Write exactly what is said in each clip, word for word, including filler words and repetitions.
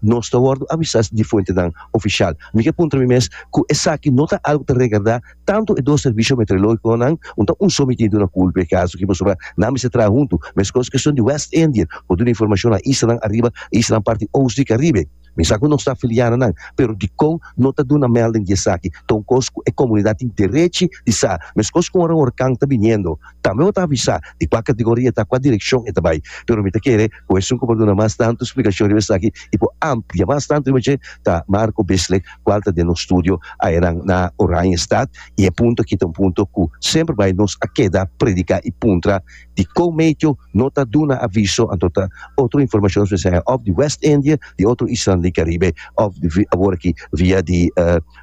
Nos ta wòrdu avisá di fuentenan ofishal. Mi ke puntra mi mes ku esaki no ta algu ta regardá tantu e dos servisio meteorológikonan, un ta un so mi tin duna kulpa e kaso aki pasobra nan mester traha huntu, meskos keshon di West Indian por duna informashon na islanan ariba e islanan parti oost di Karibe. Mi sa ku nos ta afiliá na nan, pero dikon no ta duna melding di esaki? Ta un kos ku e komunidat tin derechi di sa. Meskos ku ora un orkan ta biniendo, tambe bo ta avisá di kua kategoria e ta, kua direkshon e ta bai. Pero mi ta kere ku esun ku por duna mas tantu splikashon riba esaki i por amplia mas tantu riba dje ta Marco Bislek, kual ta den nos studio ayenan na Oranjestad. I e punto aki ta un punto ku semper bai nos a keda prediká i puntra dikon meteo no ta duna aviso, anto ta otro informashon nos mester haña òf di West Indië, di otro islanan di Karibe òf awor aki via di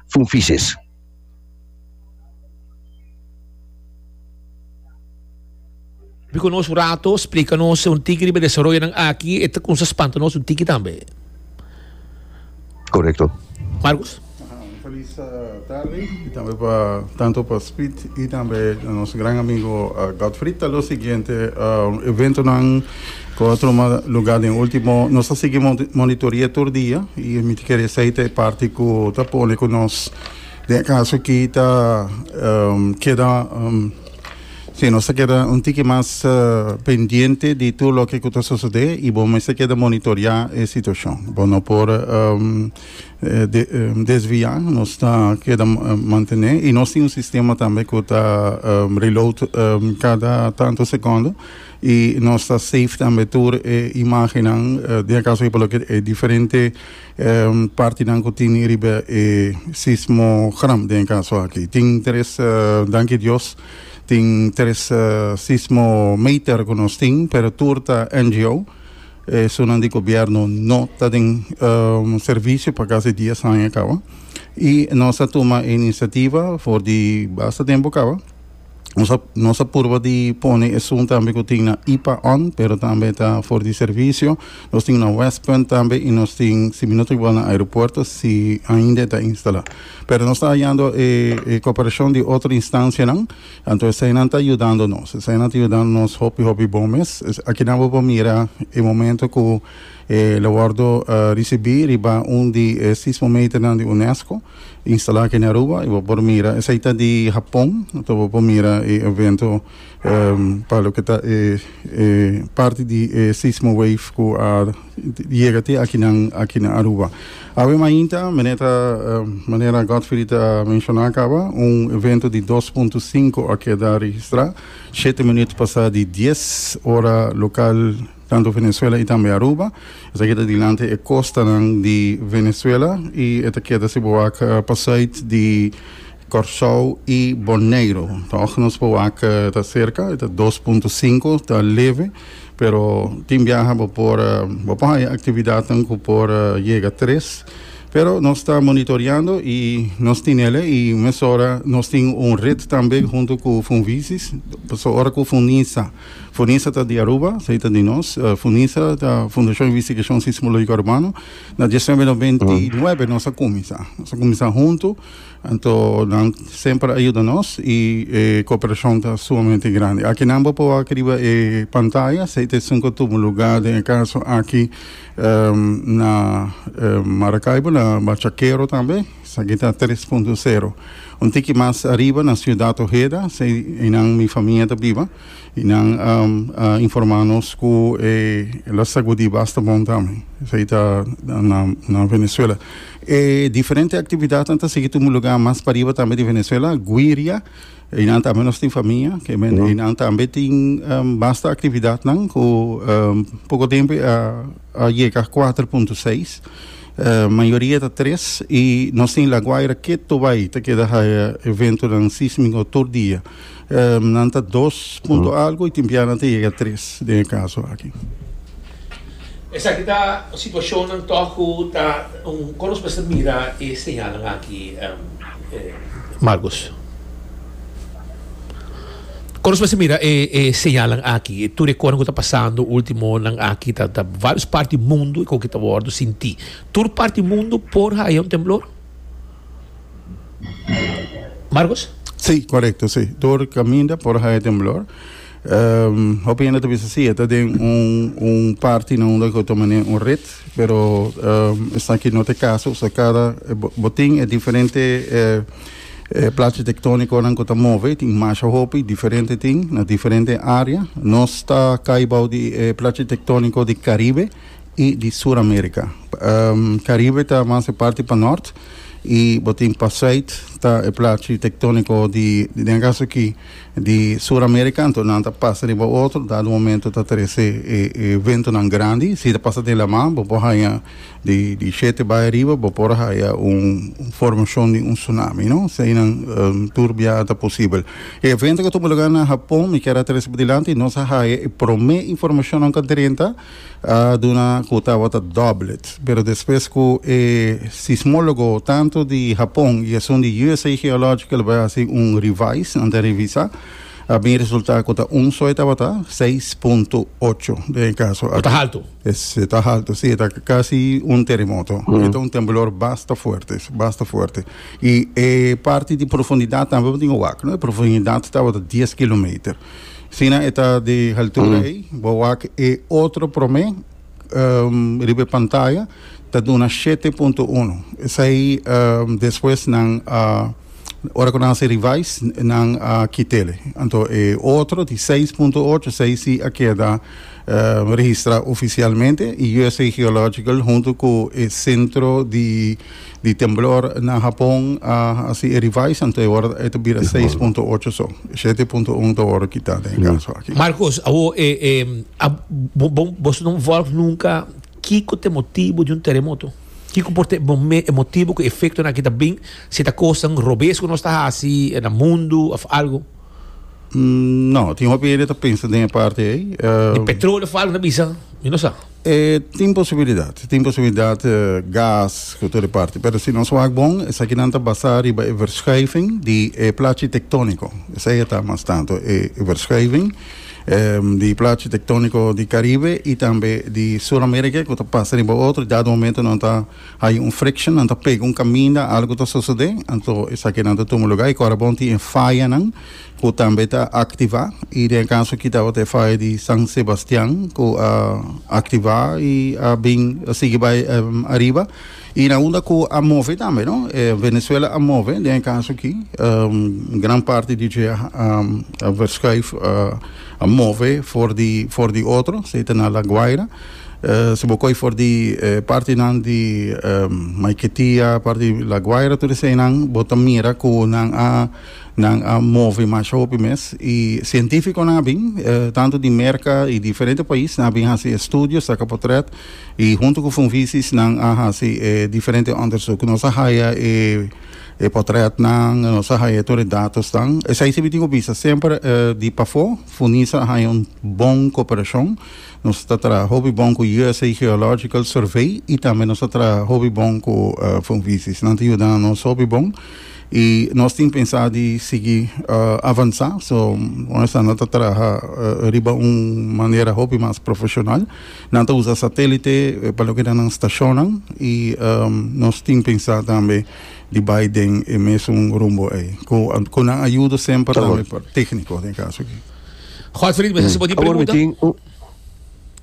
Funfises. Bi ku nos un rato, splika nos un tiki riba e desaroyonan aki, e ta kumsa spanta nos un tiki tambe. Korekto. Marcos. Un felis tardi y tambe pa tanto pa Speed y tambe nos gran amigo Godfried. Ta lo siguiente eventonan cu a tuma lugar den ultimo, nos ta sigui monitoria tur dia y mi ta kere esey ta e parti cu ta pone cu nos den e caso aki ta keda. Sí, nos ta keda un tiki mas pendiente di tur loke ku ta sosodé i bo mester keda monitoreá e situashon. Bo no por desviá, nos ta keda mantené i nos tin un sistema tambe ku ta reload kada tantu sekondo i nos ta save tambe tur e imágennan, den e kaso aki por loke e diferente partinan ku tin riba e sismogram den e kaso aki. Tin tres, danki Dios. Tin tres sismometer ku nos tin, pero tur ta N G O. Esunnan di gobièrnu no ta den servisio pa kasi dies aña kaba. I nos a tuma e inisiativa for di basta tempu kaba. Nos a nos a purba di pone esun tambe ku tin na I P A on, pero tambe ta for di servisio. Nos tin na Westpunt tambe i nos tin, si mi no ta igual, na aeropuerto si ainda e ta instalá. Pero nos ta hallando e e koperashon di otro instansianan, anto eseinan ta yudando nos. Eseinan ta yudando nos hopi hopi bon mes. Akinan bo por mira e momento ku e lo wòrdu risibí riba un di e sismometernan di UNESCO instalá aki na Aruba i bo por mira esei ta di Hapon, anto bo por mira e evento pa loke ta e e parti di e sismo wave ku a yega te akinan aki na Aruba. Awe mainta manera ta manera Godfrey ta menshoná kaba un evento di dos punto sinku a keda registrá shete minuut pasá di dies ora lokal tanto Venezuela i tambe Aruba. Esaki ta dilanti e kostanan di Venezuela i e ta keda si bo wak pasùit di Kòrsou i Boneiru. Tòg nos por wak ta serka, e ta dos punto sinku, ta leve, pero tin biaha bo por bo por haña aktividatnan ku por yega tres. Pero nos ta monitoreando i nos tin ele i mesora nos tin un ret tambe hunto ku Funvisis, pasobra ora ku Funisa, Funisa ta di Aruba, esei ta di nos, Funisa ta Fundashon Investigashon Sismológiko Arubano, na diesnuebe noventa i nuebe nos a kuminsá, nos a kuminsá hunto. Anto nan semper a yuda nos i e kooperashon ta sumamente grandi. Aki nan bo por wak riba e pantaya, esei ta esun ku tuma lugá den e kaso aki na Maracaibo, na Bachaquero tambe, esaki ta tres punto sero. Un tiki mas ariba na Ciudad Ojeda, esei einan mi famia ta biba, i nan a informá nos ku e lo sagudí basta bon tambe. Esei ta na Venezuela. E diferente aktividatnan ta sigui tuma lugá mas pariba tambe di Venezuela, Guiria, einan tambe nos tin famia, ke men einan tambe tin basta aktividatnan ku poko tempu a a yega kuater punto seis, mayoria ta tres i nos tin La Guaira ketu bai ta keda haya eventonan sísmiko tur dia. Nan ta dos punto algu i tin bia nan ta yega tres den e kaso aki. Esaki ta situacionnan toch cu ta un con nos mester mira e señalnan aki, Marcos? Con nos mester mira e e señalnan aki? Tur e cosnan cu ta pasando ultimonan aki ta ta varios parti mundo cu ta wordo sinti. Tur parti mundo por haya un temblor? Marcos? Sí, correcto, sí. Tur caminda por haya temblor. Um, hopi hende ta bisa si, ta den un un parti na unda ku ta manera un ret, pero um, esaki no ta e kaso, so kada bo tin e diferente eh, eh, plachi tektónikonan ku ta move, tin masha hopi, diferente tin, na diferente área. Nos ta kai bou di eh, plachi tektóniko di Karibe i di Sur Amérika. Um, Karibe ta mas e parti pa nort i bo tin pa sùit ta e plachi tektóniko di, den kaso aki, di Sur Amérika, anto nan ta pasa riba otro, dado momento ta trese e, e ventonan grandi, si ta pasa den laman, bo por haya di, di shete bai ariba, bo por haya un, un formashon di un tsunami, no? Eseinan um, tur bia ta posibel. E evento ku a tuma lugá na Hapon, mi kier a trese dilanti, nos a haya e promé informashon ku a drenta, a duna ku tabata doublet. Pero despues ku e sismólogo tantu di Hapon i esun di U S A Geological bai hasi un revise, nan ta revisá, a bin resultá ku ta un so tabata seis punto ocho den kaso. Ta haltu. Ta haltu, si, ta kasi un teremoto. Mm. Ta un temblor basta fuerte, basta fuerte. I e parti di profundidat tambe tin wak, no? E profundidat tabata dies kilometer. Sina ta di altura mm. ei, bo wak e otro promé um, riba pantaya, ta duna shete punto un. Esei um, despues nan uh, ora ku nan a revise, nan a kit'é. Anto e otro di seis punto ocho, seis a keda uh, registrá ofisialmente i U S A Geological huntu ku e sentro di di temblor na Hapon uh, asina revise, anto awor e bira seis punto ocho, so shete punto un ta awor kitá den kaso aki. Marcos, awo, eh, eh, a, bo, bo, bo no volg nunka kiko ta motibu di un teremoto? Kiko por ta e motibu ku efektonan aki ta bin, si ta kos robes ku nos ta hasi na mundu òf algu? Mm, no, tin hopi hende ta pensa den e parti ei. Uh, di petroleo òf algu na bisa, mi no sa. Eh, tin posibilidat, tin posibilidat, uh, gas, ku tur parti. Pero si nos wak bon, esakinan ta basá riba e verschuiving di eh, plachi tektóniko. Esei ta mas tantu, e verschuiving um, di plachi tektóniko di Karibe i tambe di Sur Amérika, ku ta pasa riba otro, dado momento nan ta hay un friction, nan ta pega un kaminda, algu ta sosodé, anto esakinan ta tuma lugá, i awor bon tin fayanan, ku tambe ta aktivá, i den kaso aki tabata faya di San Sebastian, ku a uh, aktivá i a bin sigui bai um, ariba, i na unda ku a move tambe, no? Eh, Venezuela a move, den kaso aki, um, gran parti di dje um, a verschuif, uh, a move for di for di otro, sea na La Guaira. Uh, si bo koi for di uh, partinan di um, Maiquetía, parti La Guaira, tur eseinan, bo ta mira ku nan a nan a move mas hopi mes i sientífikonan a bin, uh, tantu di Merka i diferente pais, nan a bin hasi estudio, saka portrèt i huntu ku Funvisis nan a hasi eh, diferente onderzoek. Nos a haya e e portrètnan, nos a haya tur e datonan. Esei si mi bisa semper uh, di pafó, Funisa haya un bon kooperashon. Nos ta traha hopi bon ku U S A Geological Survey i tambe nos ta traha hopi bon ku uh, Funvisis. Nan ta yuda nos hopi bon. I nos tin pensá di sigui uh, avansá, so nos ta traha uh, riba un manera hopi mas profeshonal. Nan ta usa satélite pa loke nan stashonnan i um, nos tin pensá tambe di bai den e mesun rumbo ei. Ku ku nan ayudo semper tambe tékniko den kaso aki. Godfried, bo por Awor, mi pregunta? Tin un,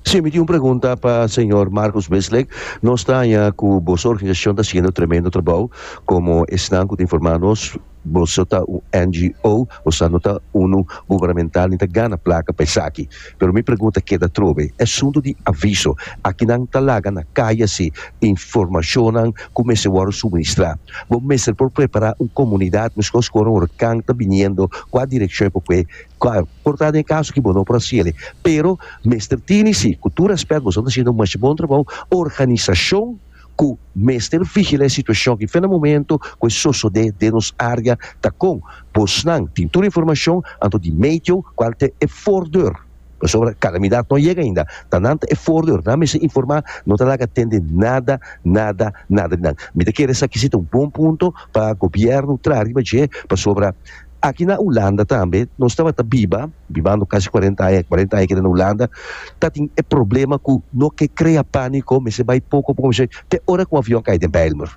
si, mi tin un pregunta pa señor Marcos Bislek. Nos ta ku boso organisashon ta hasiendo tremendo trabou, komo esnan ku ta informá nos, boso ta un N G O, boso no ta un gubernamental, ni ta gana plaka pa esaki. Pero mi pregunta keda trobe, asuntu di aviso, akinan ta laga na kaya si informashon ku mester wòrdu suministrá. Bo mester por prepará un komunidat, meskos ku un orkan ta biniendo, kua direkshon porque kua por ta den kaso ku bo no por hasi, pero mester tin si, ku tur rèspèt, boso ta hasiendo un bon trabou, organisashon ku mester vigilá e situashon ku na momento ku sosodé den nos área ta kon bosnan tin tur informashon anto di medio kual ta e voordeur sobre kalamidat no yega ainda, ta nan e voordeur, nan mester informá, no ta laga tende nada, nada, nada nan. Mi ta kere esaki ta un bon punto pa gobièrnu traha riba dje, pasobra aki na Hulanda tambe nos tabata biba, bibando kasi kuarenta aña, kuarenta aña aki na Hulanda, ta tin e problema ku no ke krea pániko, mester bai poko poko, mester te ora ku avion kai den Bijlmer.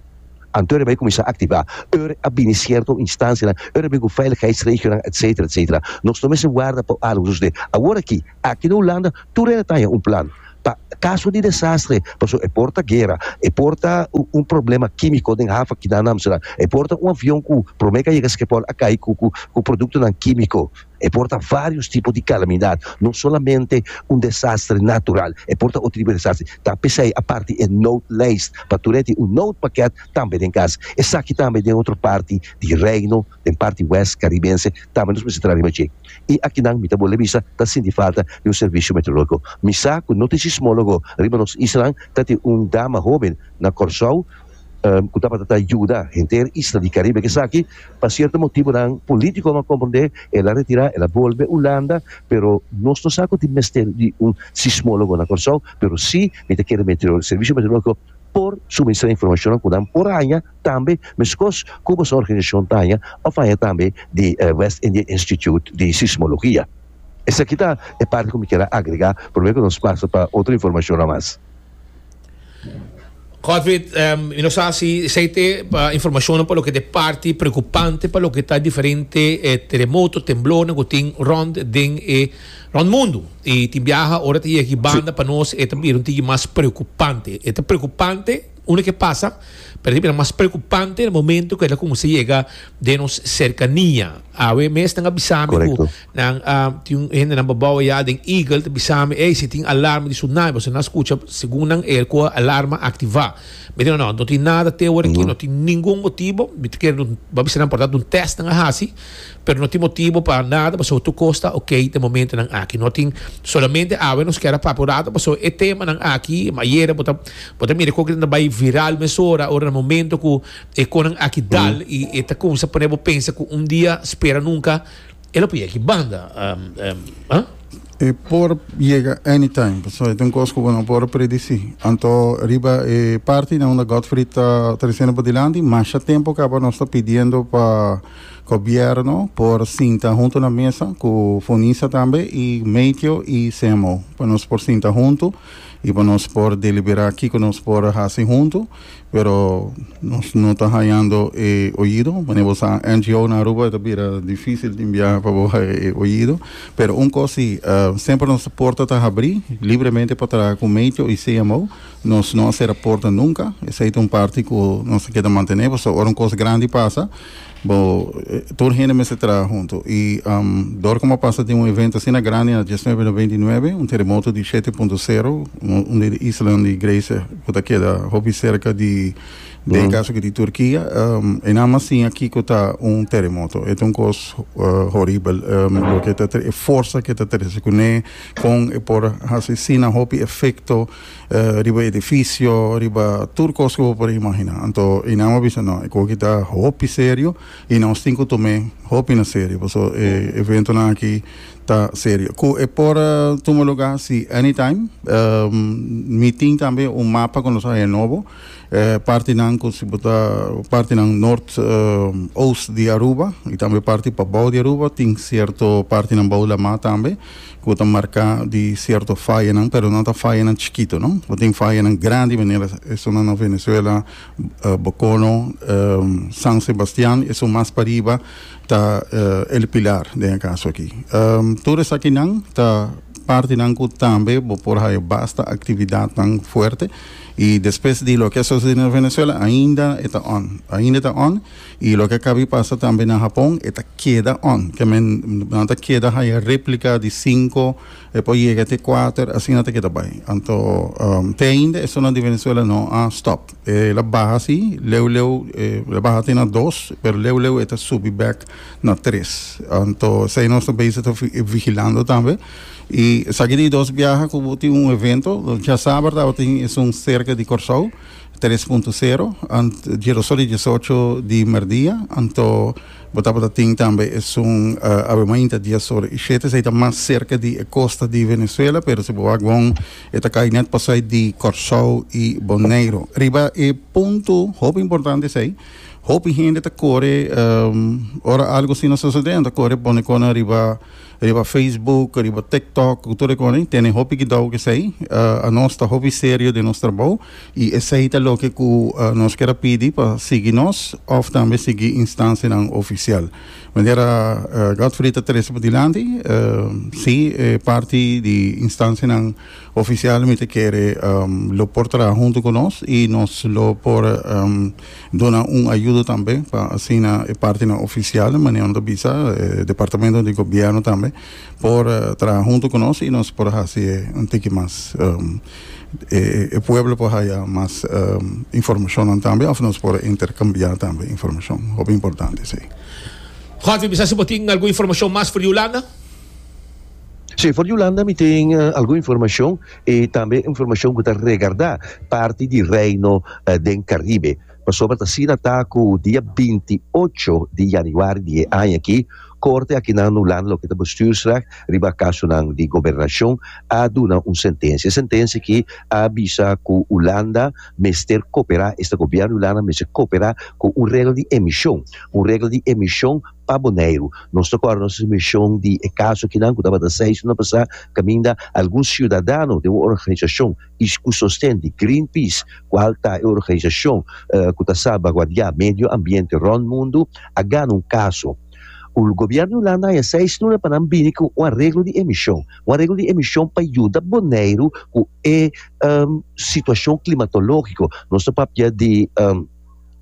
Anto e bai kuminsá aktivá. Ora a bini sierto instansia, ora bin ku veiligheidsregio, etcétera, etcétera. Nos no mester warda pa algu sosodé. Awor aki, aki na Hulanda, tur hende tin un plan. Pa kaso di desaster, paso e por ta guera, e por ta un, un problema kímiko den haven aki na Amsterdam, e por ta un avion ku promé ku yega Schiphol a kai ku, ku, ku produktonan kímiko, e por ta vários tipo di kalamidat, no solamente un desaster natural, e por ta otro tipo di desaster. Ta p'esei aparte e noodlijst, pa tur un noodpakket tambe den kas. Esaki tambe den otro parti di Reino, den parti West Karibense, tambe nos mester traha. I aki nan mi ta bolbe bisa, ta sinti falta di un servisio meteorológiko. Mi sa ku no tin sismólogo riba nos isla, ta tin un dama hóben na Kòrsou, um, ku tabata yuda henter isla di Karibe, ku esaki, pa sierto motibonan polítiko, m'a komprondé, el a retirá, el a bolbe Hulanda, pero nos no sa ku tin mester di un sismólogo na Kòrsou, pero sí, mi ta kere meteorológiko, servisio meteorológiko por suministrá informashon ku nan por haña tambe, meskos ku e organisashon ta haña, òf haña tambe di uh, West India Institute di Sismologia. Esaki ta e parti ku mi ke agregá, promé ku nos pasa pa otro informashon mas. Godfried, um, no sa si esei ta informashon pa loke ta parti preokupante pa loke ta diferente eh, teremoto, temblor ku tin rònt den eh, rònt mundu. I tin biaha ora ta aki banda pa nos e tambe un tiki mas preokupante. E ta preokupante unda ku pasa, pero e mas preokupante na momento ku el a kuminsá yega den nos serkania. Awe mes nan a bisa mi ku nan uh, tin hende nan babou ya den Eagle ta bisa mi, "Ei, si tin alarma di tsunami, bo no skucha, segun nan airco alarma aktivá." Mi no, no, no tin nada te awor aki, no tin ningun motibu. Mi ke bai bisa nan por un test nan hasi, pero no tin motibu pa nada, pasobra tur kos ta ok den momento nan aki. No tin solamente awe nos ke a papia pasobra e tema nan aki, ayera bo ta bo ta mira ku nan bai viral mesora, ora na momento ku e kosnan aki dal i e ta kuminsá pone pensa ku un dia spera nunka el a aki banda. Um, um, huh? E por yega anytime, so tin kos ku no por predisí. Anto riba e parti na unda Godfried ta tresiendo pa dilanti, mas tempu kaba nos ta pidiendo pa gobièrnu por sinta huntu na mesa ku Fonisa tambe i Meteo i C M O, pa nos por sinta huntu i pa nos por deliberá aki ku nos por hasi huntu, pero nos no ta hañando eh, oido. Bueno, bo N G O na Aruba ta bira difísil di enviá pa eh, oido, pero un kos si, uh, semper nos porta ta habrí libremente pa traha ku Meteo i C M O. Nos no a sera porta nunka. Esei ta un parti ku nos ke mantené, pasobra ora un kos grandi pasa, bo, tur hende mester traha huntu. I um, dor ku a pasa di un evento asina grandi na diesnuebe nobenta i nuebe, un teremoto di shete punto sero, un di isla di Gresia, ku ta keda hopi serka di den mm. kaso di Turkia, um, i nada mas aki ku ta un teremoto. E un kos uh, horibel, um, loke ta e forsa ku ta trese kuné, ku e por asina hopi efekto uh, riba edifisio, riba tur kos ku por imaginá. Anto, i nan a bisa no, e kos ta hopi serio i nos tin ku tuma hopi na serio, pasobra e eventonan aki ta serio. Ku e por uh, tuma lugá si anytime, um, mi tin tambe un mapa ku nos nobo, eh, parti nan ku si bo ta parti nan nort uh, oost di Aruba i tambe parti pabou di Aruba, tin sierto parti nan bou laman tambe ku ta marká di sierto faya nan, pero no ta faya nan chikitu, no? Tin faya nan grandi manera esnan na Venezuela, uh, Bocono, um, San Sebastián, esnan mas pariba ta uh, El Pilar den kaso aki. Um, tur esaki nan ta parti nan ku tambe bo por haya basta aktividat tan fuerte i despues di loke a susedé na Venezuela ainda ta on, ainda ta on, i loke a kaba di pasa tambe na Japon ta keda on, ke men nan ta keda haya réplika di sinku i por yega te kuater, asina ta keda bai. Anto um, te ainda esnan di Venezuela no a stop. El a baha asina, leu leu el a baha te na dos, pero leu leu ta subi back na tres. Anto esei nos tambe ta vigilando tambe. I esaki di dos biaha ku tin un evento, djasabra tin un serka di Kòrsou, tres punto sero, ant di diesocho di mèrdia, anto bo ta tin tambe un uh, awe diesora i shete, esei ta mas serka di kosta di Venezuela, pero si bo bon, ta kai net pasa di Kòrsou i Boneiru. Riba e punto, hopi importante esei, hopi hende ta kore, um, ora algu asina susedé, ta kore pone kos riba Riba Facebook, riba TikTok, tur kos, tene hopi kuidou ku esei. Uh, nos ta hopi serio den nos trabou i esei ta loke ku uh, nos ke pidi pa sigui nos òf tambe sigui instansianan ofisial. Manera uh, Godfrey ta trese dilanti, uh, si, eh, parti di instansianan ofisial mi ta kere um, lo por traha huntu ku nos i nos lo por um, duna un ayudo tambe pa asina e partinan ofisial, manera di bisa, eh, departamento di gobièrnu tambe por uh, traha huntu ku nos i nos por hasi un tiki mas um, e, e pueblo por haya mas um, informashon tambe òf nos por interkambiá tambe informashon, hopi importante, si. Godfrey, bisa si bo tin algun informashon mas for di Hulanda? Si, for di Hulanda mi tin uh, algun informashon i tambe informashon ku ta regardá parti di Reino uh, den Karibe. Pasobra asina ta ku dia binti ocho di yanüari di aña aki, korte aki na Hulanda, loke ta bestuursrecht, riba kasonan di gobernashon, a duna un sentensia. Sentensia ku a bisa ku Hulanda mester koperá, este gobièrnu di Hulanda mester koperá ku un regla di emishon, un regla di emishon pa Boneiru. Nos ta kòrda nos emishon di kaso ku nan ku tabata seis luna pasá, kaminda algun siudadano di un organisashon i ku sosten di Greenpeace, kual ta e organisashon uh, ku ta salvaguardiá medio ambiente rònt mundu, a gana un kaso. E gobièrnu di Hulanda a seis luna pa nan bini ku un areglo di emishon. Un areglo di emishon pa yuda Boneiru ku e um, situashon klimatológiko. Nos ta papia di um,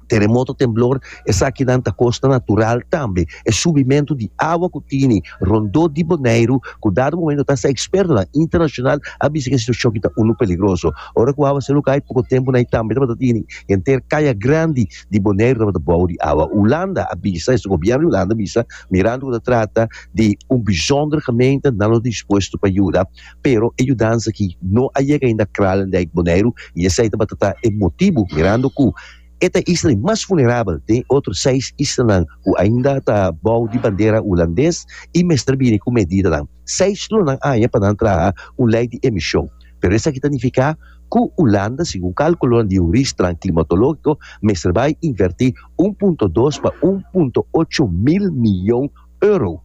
teremoto, temblor, esakinan ta kos natural tambe. E subimentu di awa ku tin rondó di Boneiru, ku dado momento ta ekspertonan internashonal a bisa ku e situashon aki ta unu peligroso. Ora ku awa seru kai poko tempu na tambe tabata tin henter Kaya Grandi di Boneiru tabata bou di awa. Hulanda a bisa, e gobièrnu di Hulanda a bisa, mirando ku ta trata di un bijzonder gemeente, nan ta dispuesto pa yuda, pero e yudansa aki no a yega ainda Kralendijk, Boneiru, i esei tabata e motibu, mirando ku e ta e isla mas vulnerabel, tin otro seis islanan ku ainda ta bou di bandera hulandes i mester bini ku medidanan. Seis luna nan pa traha un lei di emishon. Pero esaki ta nifiká ku Hulanda, segun kálkulo di hurista klimatológiko, mester bai invertí un punto dos pa un punto ocho mil mion euro.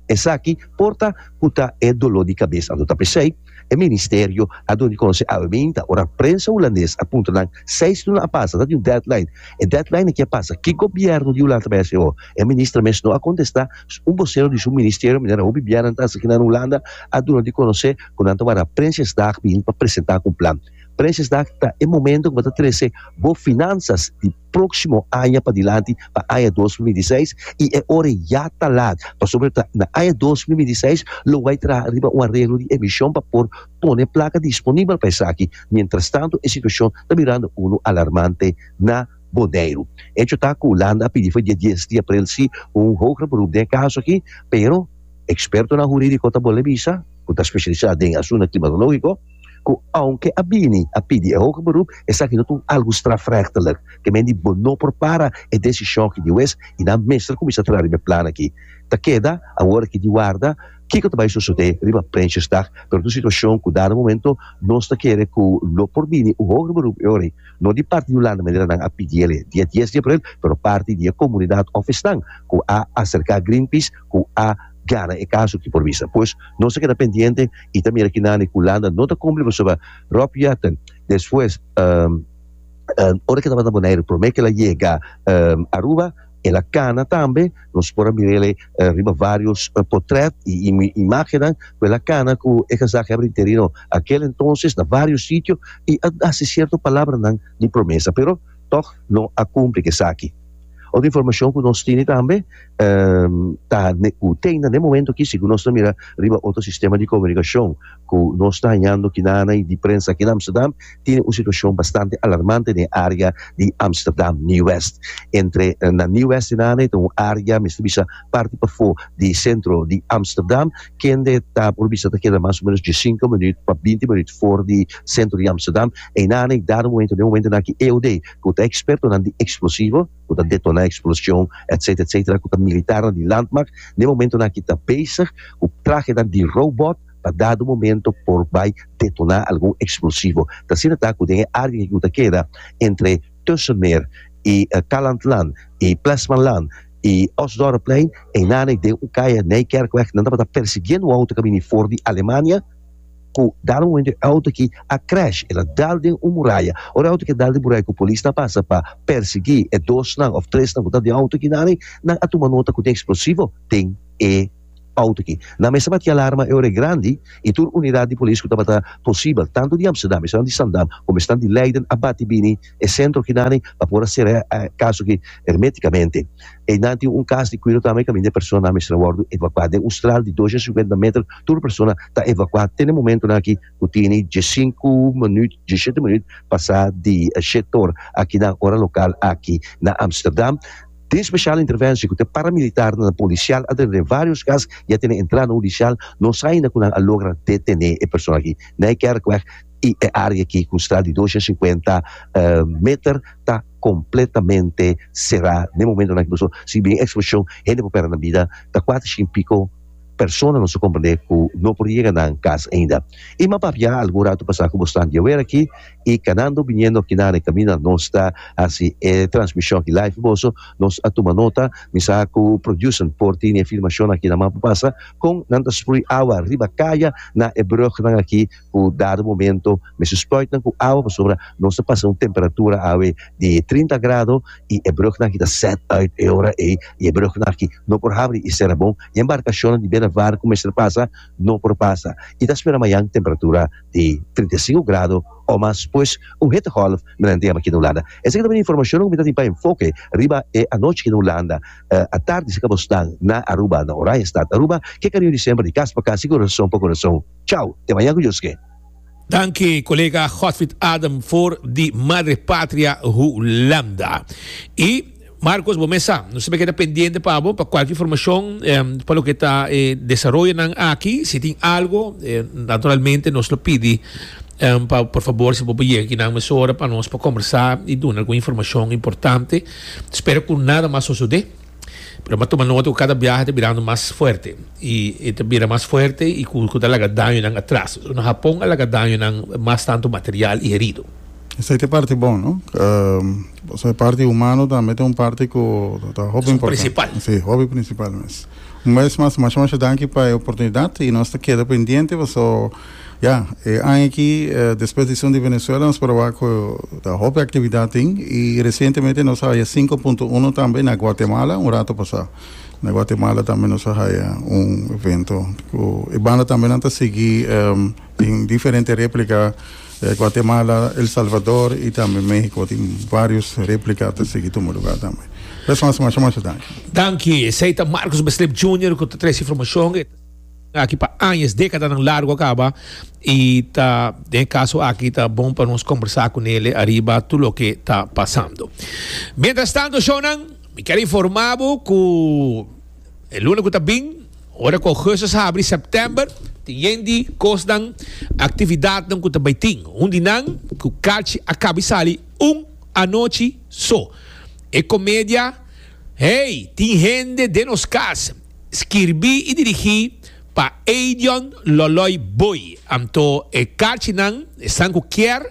Esaki por ta ku ta e doló di kabes. Anto ta p'esei, e ministerio a duna di konosé awe, ora prensa hulandes a puntra nan seis luna a pasa, ta un deadline. E deadline aki a pasa. Ku gobièrnu di Hulanda bai hasi? E minister mes no a kontestá. Un bosero di su ministerio, meneer Robbie Biaran, aki na Hulanda, a duna di konosé ku nan ta warda Prinsjesdag bin pa presentá un plan. Prinsjesdag ta e momento ku bo ta trese bo finansas di próksimo aña pa dilanti pa aña dos mil bintiseis i e ora ya ta lat. Pasobra na aña dos mil bintiseis lo bai traha riba un areglo di emishon pa por pone plaka disponibel pa esaki. Mientras tanto, e situashon ta birando unu alarmante na Boneiru. Hecho ta ku Hulanda a pidi for di dia dies di aprel si un hoger beroep den kaso aki, pero ekspertonan hurídiko ta bolbe bisa, ku ta spesialisá den asuntu klimatológiko, ku aunke a bini a pidi e hoger beroep, esaki no ta algu strafrechtelijk. Ke men di no por para e desishon aki di hues i nan mester kuminsá traha e plan aki. Ta keda awor aki di warda kiko ta bai sosodé riba Prinsjesdag, pero e situashon ku dado momento nos ta kere ku lo por bini un hoger beroep e ora, no di parti di Hulanda manera nan a pidi dia dies di aprel, pero parti di komunidat òf esnan ku a aserká Greenpeace ku a gana e kaso ku por bisa. Pues nos ta keda pendiente i tambe aki na Hulanda no ta kumpli sobre Rob Jetten. Despues, um, um, ora ku e tabata na Boneiru, promé ku el a yega um, Aruba, el a kana tambe, nos por a mira uh, riba varios uh, portrèt i, i imágen, el a kana ku e gezaghebber interino aquel entonces na varios sitio i a hasi sierto palabranan di promesa, pero toch no a kumpli ku esaki. Otro informashon ku nos tin tambe, um, ta ku tin na momento ku si nos mira riba otro sistema di komunikashon ku nos ta hañando aki na di prensa aki na Amsterdam, tin un situashon bastante alarmante den área di Amsterdam Nieuw-West. Entre na Nieuw-West na un área, mester bisa parti pafó di sentro di Amsterdam, ku ta por bisa ta keda mas o ménos di sinku minüt pa binti minüt for di sentro di Amsterdam, i na dado momento, na momento ku E O D, ku ta ekspertonan di eksplosivo, ku ta detoná eksploshon, et cetera, et cetera, ku ta militar di landmacht, na momento ku ta bezig, ku trahe di robot, pa dado momento por bai detoná algun eksplosivo. Ta asina ta ku den área ku ta keda entre Tussenmeer i uh, Calandlaan i Plesmanlaan. I Osdorpplein, einan den un kaya Nijkerkweg, nan tabata persiguiendo un outo ku a bini for di Alemania, ku dado momento e outo aki a crash, el a dal den un muraya. Ora e outo aki a dal den muraya ku polis a pasa pa persiguí e dosnan òf tresnan ku ta den outo aki nan, nan a tuma nota ku tin eksplosivo den e outo aki. Nan mester bati alarma e ora grandi i tur unidat di polis ku tabata posibel, tantu di Amsterdam, esnan di Zaandam, komo esnan di Leiden a bati bini e sentro aki nan pa por a sera e kaso aki hermétikamente. Einan tin un kas di kuido tambe kaminda e personanan mester a wòrdu evakuá. Den un stral di dos sinkuenta meter tur persona ta evakuá te na e momentunan aki ku tini diesinku minüt, diesshete minüt pasá di shete or aki na ora lokal aki na Amsterdam. Den spesial interventie ku te paramilitarnan polisial a drenta den vários kas i a tene entrada hudisial, no sa ainda ku nan a logra detené e persona aki. Nijkerkweg i e área aki ku un stral di dos sinkuenta meter ta kompletamente será den momentonan aki pasobra si bin eksploshon hende por pèrdè nan bida. Ta kuater shin piko persona nos a komprendé ku no por yega nan kas ainda. I m'a papia algun ratu pasá ku bosnan diawer aki i kanando biniendo aki nan e kaminda nos ta hasi e transmishon aki live pa boso, nos a tuma nota, mi sa ku producer por tini e filmashon aki na mapa pasa kon nan ta sprui awa riba kaya na e brugnan aki ku dado momento mester spuit nan ku awa pasobra nos ta pasa un temperatura awe di trinta grado i e brugnan aki ta set uit e ora ei i e brugnan aki no por habri i sera bon i embarkashonnan di bena var ku mester pasa no por pasa i ta spera mayan temperatura di trinta i sinku grado o mas, pues un hittegolf mirante yama aki na Hulanda. Esaki ta bini informashonnan ku mi ta tin pa enfoke riba e anochi aki na Hulanda. Atardi si kabosnan na Aruba, na Oranjestad, Aruba. Ke kariño di semper di kas pa kas i kurason pa kurason. Chao, te mañan ku Dios ke. Danki kolega Godfried Adam for di Madre Patria Hulanda. I Marcos bo mes sa, nos ta keda pendiente pa bo pa kualke informashon pa loke ta e desaroyonan aki. Si tin algo, naturalmente nos lo pidi pa por fabor si bo por yega akinan mesora pa nos por kombersá i duna algun informashon importante. Spero ku nada mas sosodé, pero mi a tuma nota ku kada biaha ta birando mas fuerte i e ta bira mas fuerte i ku ta laga dañonan atras. Na Hapon a laga dañonan mas tantu material i herido. Esei ta e parti bon, no? Pasobra e parti humano tambe ta un parti ku ta hopi importante. Principal. Sí, hopi principal mes. Un bes mas, masha masha danki pa e oportunidat i nos ta keda pendiente paso ya, e aña aki despues di esun di Venezuela nos por a wak ku ta hopi aktividat tin i resientemente nos a haya sinku punto uno tambe na Guatemala un rato pasá. Na Guatemala tambe nos a haya un evento ku e banda tambe nan ta sigui tin diferente replika. Guatemala, El Salvador y tambe Mexico tin varios replica ta sigui tuma lugar tambe. Bes mas masha masha danki. Danki. Esey ta Marcus Beslip Junior cu ta trece informacion. E ta aki pa añas, decadanan largo a caba y ta den e caso aki ta bon pa nos combersa cu nele ariba tur loke ta pasando. Mientras tanto shownan, mi kier informa bo cu e luna cu ta bin, Ora ku Augustus habri September, tin yen di kosnan, aktividatnan ku ta bai tin. Un di nan ku kachi a kabi sali un anochi so. E komedia Hey, tin hende den nos kas, skirbí i dirigí pa Edion Loloy Boy. Anto e kachinan, esnan ku kier,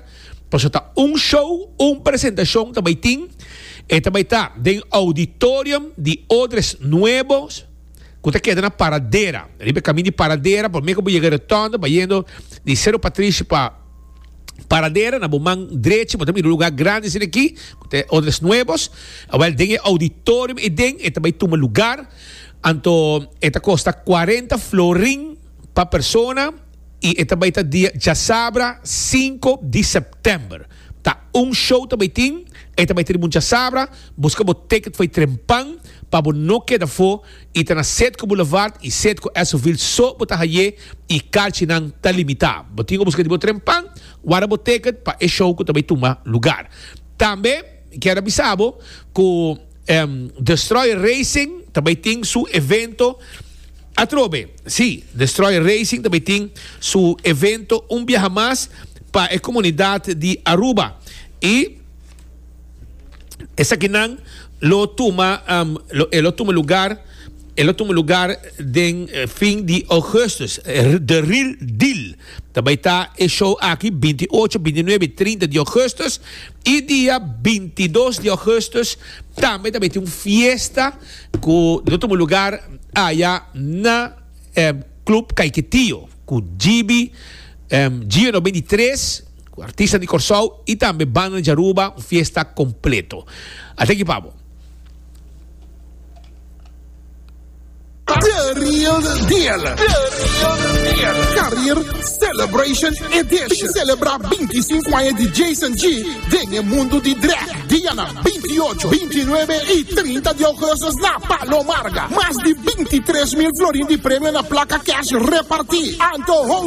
pasobra ta un show, un presentashon ta bai tin. E ta bai ta den Auditorium di Odres Nuevos. Ku ta keda na Paradera, riba e kamin di Paradera, promé ku bo yega Rotonda, bayendo di Sero Patrishi pa Paradera, na bo man drechi bo ta mira un lugá grandi asina aki, ku ta e Odres Nuevos. Awèl, den e auditorium ei den e ta bai tuma lugar, anto e ta kosta kuarenta florin pa persona i e ta bai ta dia djasabra sinku di sèptèmber. Ta un show ta bai tin, e ta bai ta riba un djasabra, buska bo ticket for e trempan pa bo no keda afó i ta na Setco Boulevard i Setco Essoville so bo ta haye i karchinan ta limitá. Bo tin ku buska di bo trempan, warda bo ticket pa e show ku ta bai tuma lugar. Tambe mi kier a bisa bo ku Destroyer Racing ta bai tin su evento atrobe. Sí, Destroyer Racing ta bai tin su evento un biaha mas pa e komunidat di Aruba i esakinan lo tuma lo e lo tuma lugar E lo tuma lugar den eh, fin di augustus. Eh, The Real Deal. Tambe ta e show aki binti ocho, binti nuebe y trinta di augustus. Y dia bintidos di augustus tambe tambe tin un fiesta cu lo tuma lugar aya na eh, Club Caiquetio cu G B, um, Gio noventa i tres, cu artista di Corsou y tambe banda di Aruba, un fiesta completo. Ata aki pa bo. The Real Deal. The Real Deal. Career Celebration Edition. Celebra binticinco aña di Jason G. Den mundo di drag. Dia binti ocho, binti nuebe y trinta di augustus na Palo Marga. Mas di bintitres mil florin di premio na placa cash reparti. Anto